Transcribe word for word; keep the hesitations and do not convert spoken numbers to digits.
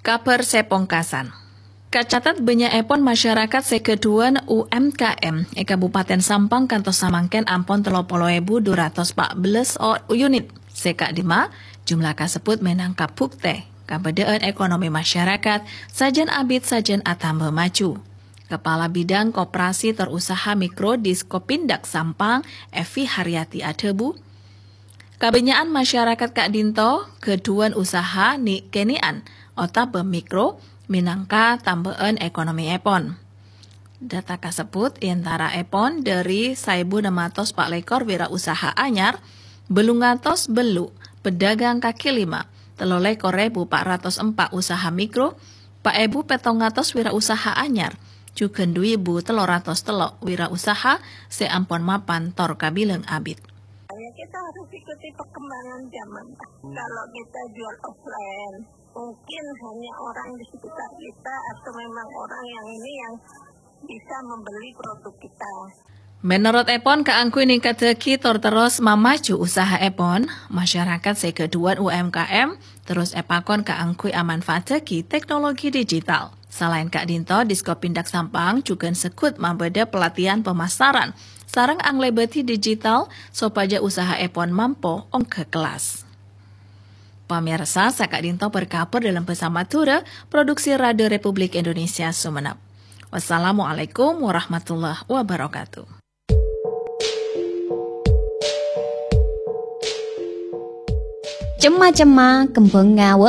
Kabhâr sè pongkasan. Kacatet bânnya'èpon masyarakat sè ghâdhuwân U M K M è Kabupaten Sampang kantos samangkèn ampon tello polo èbu dhu ratos pa' bellâs o-, unit. Sè ka'dimma, jumlah kasebbhut mènangka buktè kabâdâ'ân ekonomi masyarakat sajân abit sajân atamba maju. Kepala Bidang Koperasi tor Usaha Mikro Diskopindag Sampang, Evi Haryati adhâbu, kabânnya'an masyarakat ka'dinto ghâdhuwân usaha nè'-kènè'an otabâ mikro mènangka tambâ'ân ekonomièpon. Data kasebbhut è antaraèpon dâri saèbu ennem atos pa' lèkor wirausaha anyar, bâllung atos bellu' pedagang kaki lima, tello lèkor èbu pa' ratos empa' usaha mikro, pa' èbu pèttong atos wirausaha anyar, jhughân dhu èbu tello ratos tello' wirausaha sè ampon mapan tor kabilang abit. Ya, kita harus ikuti perkembangan zaman, Pak. Kalau kita jual offline, mungkin hanya orang di sekitar kita atau memang orang yang ini yang bisa membeli produk kita. Mènorotèpon, kaangghuy nèngkaddhâghi tor terros mamaju usahaèpon, masyarakat sè ghâdhuwân U M K M terros èpakon kaangghuy amanfaattaghi teknologi digital. Salaèn ka'dinto, Diskopindag Sampang jhughân segghut mabâdâ pelatihan pemasaran sareng anglèbâdhi digital sopajâ usahaèpon mampo ongghâ kellas. Pamirsa, saka'dinto berkabar dalam bahasa Madura, produksi Radio Republik Indonesia Sumenep. Wassalamualaikum warahmatullahi wabarakatuh. Cemma-cemma, kembhângnga wâ'